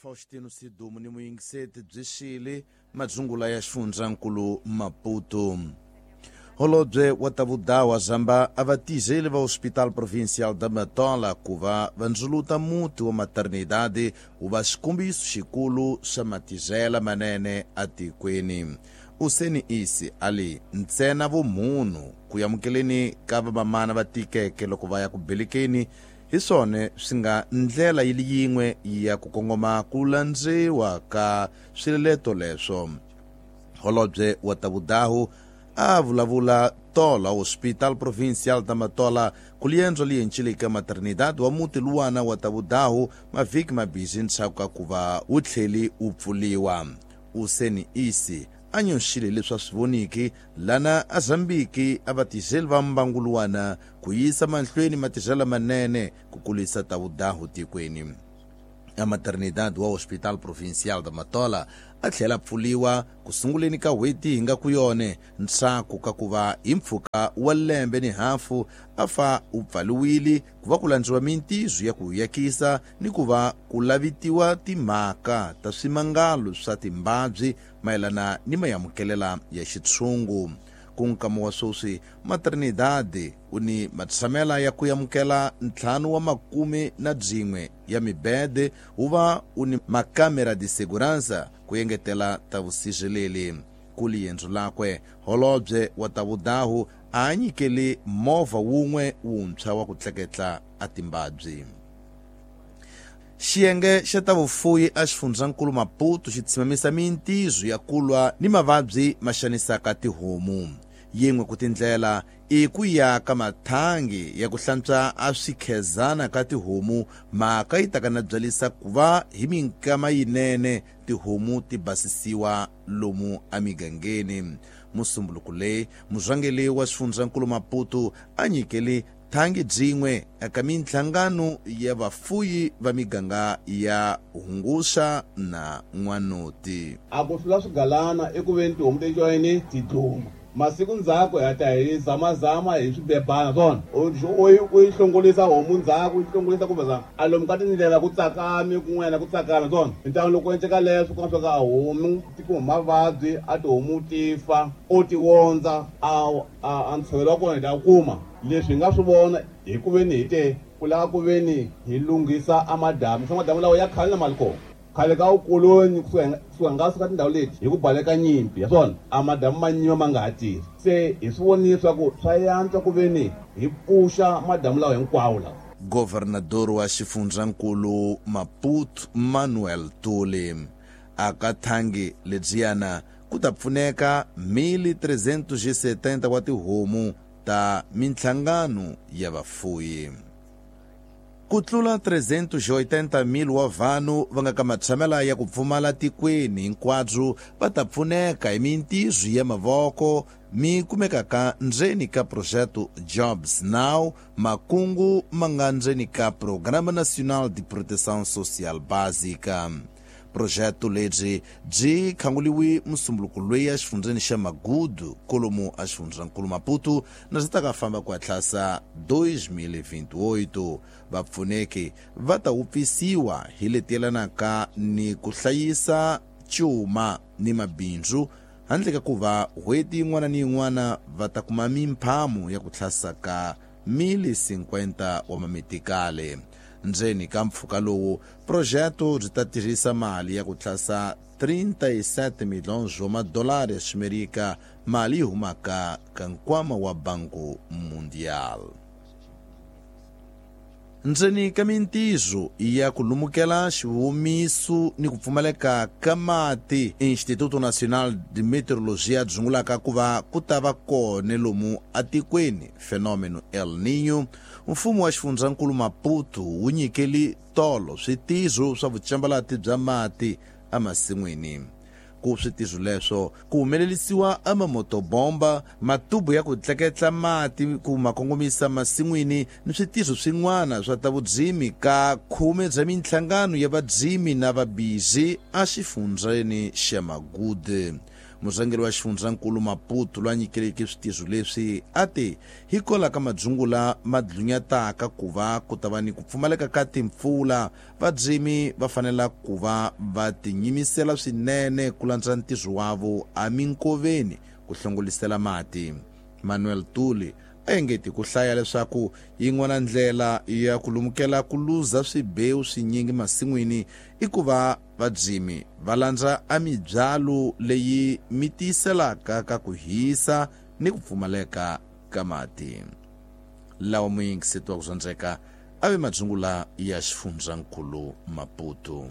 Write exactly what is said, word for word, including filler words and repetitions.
Faustino Sidumo ni muyingiseti byi xile madzungula ya xifundzankulu Maputo. Holobye wa ta vudawa zamba a va tizeli va Hospital Provincial da Matola ku va va ndzuluta muti wa maternidade wu va xikombiso xikulu xa matizela manene atikweni. Useni isi ali ntsena vumunhu ku amukeleni ka vamamana va tikeke loko va ya ku belekeni hi swona swi nga ndlela yi li yin'we ya ku kongoma ku landziwa ka swileto leswo. Holobye wa ta vudahu a vulavula tola Hospital Provincial da Matola ku liendzo lientshile ka maternidade wa muti luwana wa ta vudahu mavhiki mabisi ndzhaku ka ku va wu tlheli wu pfuliwa. Useni isi a nyoxile leswi a swi voniki lana a Zambiki a va tizeli va mbangu luwana ku yisa mahlweni matizela manene ku kulisa ta vudahu tikweni. A maternidade wa Hospital Provincial da Matola a tlhela pfuliwa ku sunguleni ka n'hweti hi nga ku yone ntshaku ka ku va hi mpfhuka wa lembe ni hafu a fa u pfaliwile ku va ku landziwa mintizo ya ku yakisa ni ku va ku lavitiwa timhaka ta swimangalo swa timbabyi mayelana ni mayamukelela ya xitshungu. Ku nkama wa sweswi maternidade u ni matshamela ya ku amukela ntlhanu wa makume na byin'we ya mibede wu va u ni makamera de segurança ku engetela ta vusirheleli. Ku liendzo lakwe holobye wa ta vudahu a nyikele movha wun'we wuntshwa wa ku tleketla a timbabyi. Xiyenge xa ta vufuyi a xifundzankulu Maputo xi tshimamisa mintizo ya kulwa ni mavabyi ma xanisaka tihomu. Yin'we ku tindlela i ku ya ka mathangi ya ku hlantswa a swikhezana ka tihomu mhaka yi taka na byalisa ku va hi minkama yinene tihomu ti basisiwa lomu emigangeni. Musumbuluko leyi murhangeri wa xifundzankulu Maputo a nyikele thangi byin'we eka minhlangano ya vafuyi va miganga ya Hunguxa na N'wanoti. A ku hlula swigalana eku veni tihomu ti joyini ti dluma. Masiku ndzhaku hi ta hi zamazama hi swibebana swona u yi hlongolisa homu ndzhaku yi hlongolisa kumbe za a lomu ka tindlela ku tsakami kun'wana ku tsakama swona ntlangu loko endleka leswo ku nga a homu ti kuma mavabyi a tihomu ti fa u ti wondza a a ntshovelo wa kona hi ta kuma. Leswi hi nga swi vona hi ku veni hi te ku lava ku veni hi lunghisa a madamu swa madamu lawa ya khale na mali kona khale ka vukoloni kusuka nga suka tindhawu leti hi ku baleka nyimpi ya swona a madamu ma nyima ma nga ha tirhi se hi swi vonile swa ku swa yantswa ku veni hi pfuxa madamu lawa hinkwawo lawa. Governador wa xifundzankulu Maputo Manuel Tuli a ka thangi lebyiyana ku ta pfuneka mil trezentos e setenta wa tihomu ta minhlangano ya vafuyi. Ku tlula trezentos e oitenta mil wa vanhu va nga ka matshamela ya ku pfumala tikweni hinkwabyo va ta pfuneka hi mintizo ya mavoko mi kumekaka ndzeni ka projeto Jobs Now makungu ma nga ndzeni ka Programa Nacional de Proteção Social Básica. Projeto lebyi byi khanguliwi musumbuluko loyi a xifundzeni xa Magudu kolomu a xifundzankulu Maputo na swi ta ka famba ku hatlasa dois mil e vinte e oito. Vapfuneki va ta wupfisiwa hi leti yelanaka ni ku hlayisa cuma ni mabindzu handle ka ku va n'hweti yin'wana ni yin'wana va ta kuma mimphamo ya ku tlhasa ka mil cinquenta wa mamitikale. Ndzeni ka mpfhuka lowu projeto byi ta tirhisa mali ya ku tlhasa trinta e sete milhões wa madolari ya Ximerika, mali yi humaka ka nkwama wa Banco Mundial. Ndzeni ka mintizo ya ku lumukela xivumiso ni ku pfumaleka ka mati, Instituto Nacional de Meteorologia dzungulaka ku va ku ta va kona lomu atikweni fenômeno El Niño, mfumo wa xifundzankulu Maputo wu nyikeli tolo switizo swa vucambalati bya mati emasin'wini. Ku switizo leswo ku humelerisiwa amamotobomba, matubu ya ku tleketla mati ku ma kongomisa masin'wini ni switizo swin'wana swa ta vudzimi ka khume bya minhlangano ya vadzimi na vabizi exifundzeni xa Magudu. Murhangeri wa xifundzankulu Maputo loyi a nyikeleke switizo leswi a ti hikola ka madzungula ma dlunyataka ku va ku ta va ni ku pfumaleka ka timpfula, vadzimi va fanela ku va va tinyimisela swinene ku landza ntirho wavo eminkoveni ku hlongolisela mati. Manuel Tuli a engeti ku hlaya leswaku yin'wana ndlela ya ku lumukela ku luza swibewu swinyingi masin'wini i ku va vadzimi va landza a mibyalo leyi mi tiyiselaka ka ku hisa ni ku pfumaleka ka mati. Lawa muyingiseti wa ku zwandzeka a ve madzungula ya xifundzankulu Maputo.